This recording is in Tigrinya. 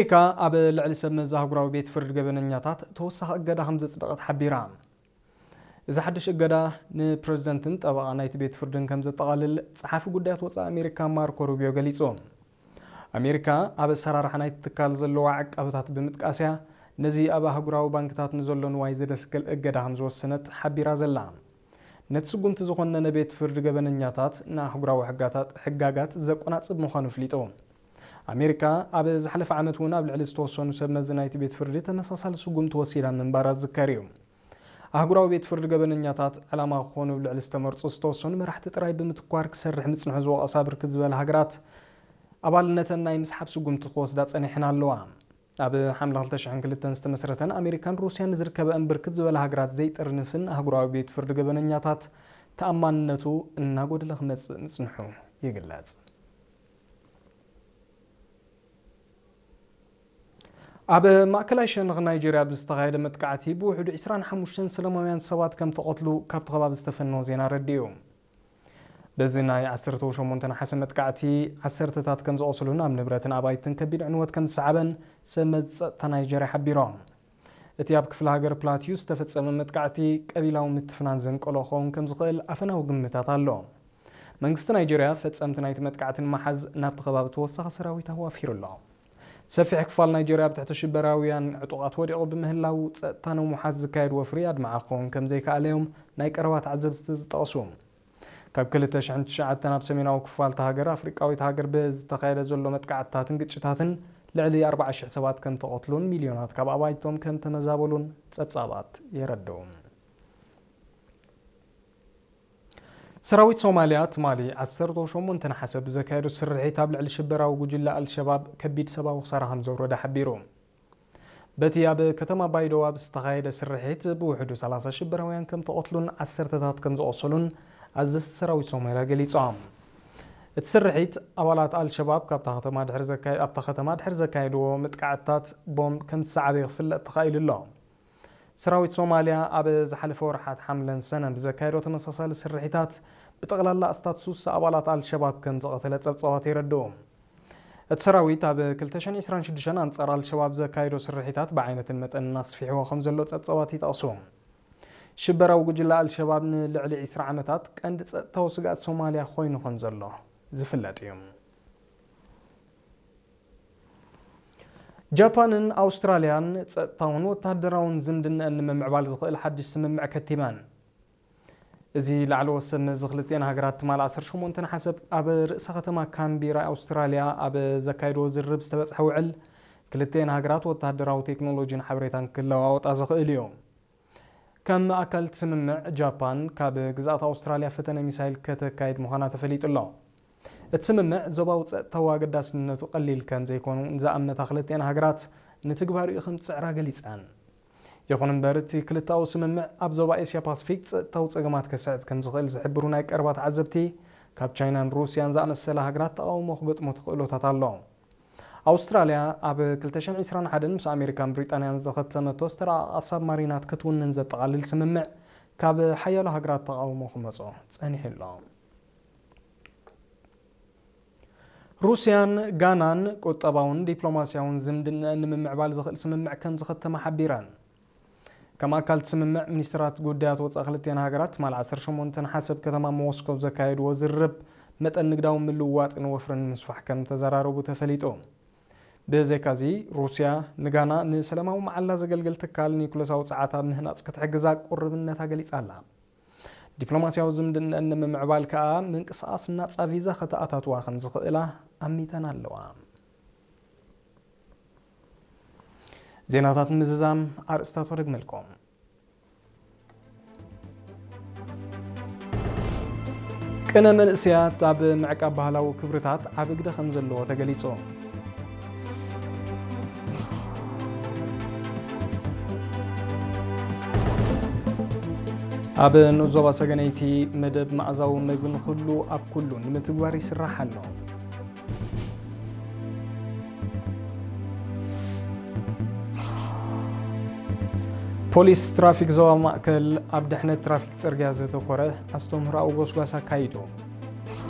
ኣሜሪካ ኣብ ልዕሊ ሰብ መዚ ኣህጉራዊ ቤት ፍርዲ ገበነኛታት ተወሳኺ እገዳ ከም ዘጽደቐት ሓቢራ። እዚ ሓድሽ እገዳ ንፕረዚደንትን ጠበቓ ናይቲ ቤት ፍርድን ከም ዘጠቓልል ጸሓፊ ጉዳያት ወጻኢ ኣሜሪካ ማርኮ ሩቢዮ ገሊጹ። ኣሜሪካ ኣብ ኣሰራርሓ ናይቲ ትካል ዘለዋ ዕቃበታት ብምጥቃስ እያ ነዚ ኣብ ኣህጉራዊ ባንክታት ንዘሎ ንዋይ ዘደስክል እገዳ ከም ዝወሰነት ሓቢራ ዘላ። ነቲ ስጉምቲ ዝኾነነ ቤት ፍርዲ ገበነኛታት ንኣህጉራዊ ሕጋታት፣ ሕጋጋት ዘቆናጽብ ምዃኑ ኣፍሊጡ። ኣሜሪካ ኣብ ዝሓለፈ ዓመት እውን ኣብ ልዕሊ ዝተወሰኑ ሰብ መዚ ናይቲ ቤት ፍርዲ ተመሳሳሊ ስጉምቲ ወሲዳ ምንባራ ዝዝከር እዩ። ኣህጉራዊ ቤት ፍርዲ ገበነኛታት ዕላማ ክኾኑ ኣብ ልዕሊ ዝተመርጹ ዝተወሰኑ መራሕቲ ጥራይ ብምትኳር ክሰርሕ ምጽንሑ ዝወቐሳ ብርክት ዝበላ ሃገራት ኣባልነተን ናይ ምስሓብ ስጉምቲ ክወስዳ ጸኒሐን ኣለዋ። ኣብ ሓምለ ክልተ ሽሕን ክልተን ዝተመስረተን ኣሜሪካን ሩስያን ንዝርከበኣን ብርክት ዝበላ ሃገራት ዘይጥርንፍን ኣህጉራዊ ቤት ፍርዲ ገበነኛታት ተኣማንነቱ እናጎደለ ክመጽእ ምጽንሑ ይግለጽ። ኣብ ማእከላይ ሸነኽ ናይጀርያ ብዝተኻየደ መጥቃዕቲ ብውሕዱ ዕስራን ሓሙሽተን ሰላማውያን ሰባት ከም ተቐትሉ ካብቲ ከባቢ ዝተፈነወ ዜና ኣረዲኡ። በዚ ናይ ዓሰርተ ሸሞንተ ነሓሰ መጥቃዕቲ ዓሰርተታት ከም ዝቖሰሉን ኣብ ንብረትን ኣባይትን ከቢድ ዕንወት ከም ዝሰዓበን ሰብ መዚ ጸጥታ ናይጀርያ ሓቢሮም። እቲ ኣብ ክፍለ ሃገር ፕላቲዩ ዝተፈጸመ መጥቃዕቲ ቀቢላዊ ምትፍናን ዘንቀሎ ክኸውን ከም ዝኽእል ኣፈናዊ ግምታት ኣሎ። መንግስቲ ናይጀርያ ፈጸምቲ ናይቲ መጥቃዕቲ ንምሓዝ ናብቲ ከባቢ ተወሳኺ ሰራዊት ኣዋፊሩ ኣሎ። ሰፊሕ ክፋል ናይጀርያ ኣብ ትሕቲ ሽበራውያን ዕጡቓት ወዲቑ ብምህላው ጸጥታ ንምውሓስ ዝካየድ ወፍሪ ኣድማዒ ክኸውን ከም ዘይከኣለ እዮም ናይ ቀረባ ተዓዘብቲ ዝጠቕሱ። ካብ ክልተ ሽሕን ትሽዓተን ኣብ ሰሜናዊ ክፋል እታ ሃገር ኣፍሪቃዊት ሃገር ብዝተኻየደ ዘሎ መጥቃዕትታትን ግጭታትን ልዕሊ ኣርባዓ ሽሕ ሰባት ከም ተቐትሉን ሚልዮናት ካብ ኣባይቶም ከም ተመዛበሉን ጸብጻባት የረድኡ። ሰራዊት ሶማልያ ትማሊ ዓሰርተ ሸሞንተ ነሓሰ ብዘካየዶ ስርሒት ኣብ ልዕሊ ሽበራዊ ጉጅለ ኣልሸባብ ከቢድ ሰብኣዊ ክሳራ ከም ዘውረደ ሓቢሩ። በቲ ኣብ ከተማ ባይዶዋ ብዝተኻየደ ስርሒት ብውሕዱ ሰላሳ ሽበራውያን ከም ተቐትሉን ዓሰርተታት ከም ዝቖሰሉን ኣዘዝቲ ሰራዊት ሶማልያ ገሊጾም። እቲ ስርሒት ኣባላት ኣልሸባብ ካብታ ከተማ ድሕሪ ዘካየ-፣ ኣብታ ከተማ ድሕሪ ዘካየድዎ መጥቃዕትታት ቦምብ ከም ዝሰዓበ ክፍለጥ ተኻኢሉ ኣሎ። ሰራዊት ሶማልያ ኣብ ዝሓለፈ ወርሓት ሓምለን ሰነን ብዘካየዶ ተመሳሳሊ ስርሒታት ብጠቕላላ ኣስታት ሱሳ ኣባላት ኣልሸባብ ከም ዝቐተለ ጸብጻባት የረድኡ። እቲ ሰራዊት ኣብ ክልተ ሽሕን ዕስራን ሽዱሽተን ኣንጻር ኣልሸባብ ዘካየዶ ስርሒታት ብዓይነትን መጠንን ኣስፊሕዎ ከም ዘሎ ጸብጻባት ይጠቕሱ። ሽበራዊ ጉጅለ ኣልሸባብ ንልዕሊ ዕስራ ዓመታት ቀንዲ ጸጥታዊ ስግኣት ሶማልያ ኮይኑ ከም ዘሎ ዝፍለጥ እዩ። ጃፓንን ኣውስትራልያን ጸጥታውን ወተሃደራውን ዝምድናኣን ንምምዕባል ዝኽእል ሓድሽ ስምምዕ ከቲመን። እዚ ላዕለዎት ሰብ መዚ ክልቲኣን ሃገራት ትማሊ ዓሰርተ ሸሞንተ ነሓሰ ኣብ ርእሰ ከተማ ካንቢራ ኣውስትራልያ ኣብ ዘካየድዎ ዝርርብ ዝተበጽሐ ውዕል፣ ክልቲኣን ሃገራት ወተሃደራዊ ቴክኖሎጂን ሓበሬታን ክለዋወጣ ዝኽእል እዩ። ከም ኣካል እቲ ስምምዕ፣ ጃፓን ካብ ግዝኣት ኣውስትራልያ ፈተነ ሚሳይል ከተካይድ ምዃና ተፈሊጡ ኣሎ። እቲ ስምምዕ ዞባዊ ጸጥታዊ ኣገዳስነቱ ቀሊል ከም ዘይኮኑ ንዝኣመታ ክልቲኣን ሃገራት፣ ንትግባሪኡ ከም ዝጽዕራ ገሊጸን። ይኹን እምበር፣ እቲ ክልተኣዊ ስምምዕ ኣብ ዞባ ኤስያ ፓስፊክ ጸጥታዊ ጸገማት ከስዕብ ከም ዝኽእል ዝሕብሩ ናይ ቀረባ ተዓዘብቲ፣ ካብ ቻይናን ሩስያን ዝኣመሰላ ሃገራት ተቓውሞ ክገጥሞ ተኽእሎታት ኣሎ። ኣውስትራልያ ኣብ ክልተ ሽሕን ዕስራን ሓደን ምስ ኣሜሪካን ብሪጣንያን ዝኸተመቶ ዝተረኣቓ ሳብማሪናት ክትውንን ዘጠቓልል ስምምዕ ካብ ሓያሎ ሃገራት ተቓውሞ ክመጾ ጸኒሑ ኣሎ። ሩስያን ጋናን ቁጠባውን ዲፕሎማስያውን ዝምድናኣን ንምምዕባል ዝኽእል ስምምዕ ከም ዝኸተማ ሓቢረን። ከም ኣካል እቲ ስምምዕ፣ ሚኒስትራት ጉዳያት ወጻኢ ክልቲኣን ሃገራት ትማሊ ዓሰርተ ሸሞንተ ነሓሰ ኣብ ከተማ ሞስኮ ኣብ ዘካየድዎ ዝርርብ፣ መጠን ንግዳዊ ምልውዋጥን ወፍርን ንምስፋሕ ከም ዝተዘራረቡ ተፈሊጡ። ብዘይካዚ፣ ሩስያ ንጋና ንሰላማዊ መዓላ ዘገልግል ትካል ኒኩለሳዊ ጸዓት ኣብ ምህናጽ ክትሕግዛ ቁርብነታ ገሊጻ ኣላ። ዲፕሎማስያዊ ዝምድናኣን ንምምዕባል ከኣ ምንቅስቓስ ናጻ ቪዛ ከተኣታትዋ ከም ዝኽእላ ኣሚተን ኣለዋ። ዜናታት ምዝዛም ኣርእስታቱ ደግመልኩም። ቅነ መንእሰያት ኣብ ምዕቃብ ባህላዊ ክብርታት ዓቢ ግደ ከም ዘለዎ ተገሊጹ። ኣብ ንኡስ ዞባ ሰገነይቲ መደብ መኣዛዊ መግቢ ንኹሉ ኣብ ኩሉ ንምትግባር ይስራሕ ኣሎ። ፖሊስ ትራፊክ ዞባ ማእከል ኣብ ድሕነት ትራፊክ ጽርግያ ዘተኮረ ኣስተምህሮኣዊ ጎስጓስ ኣካይዱ።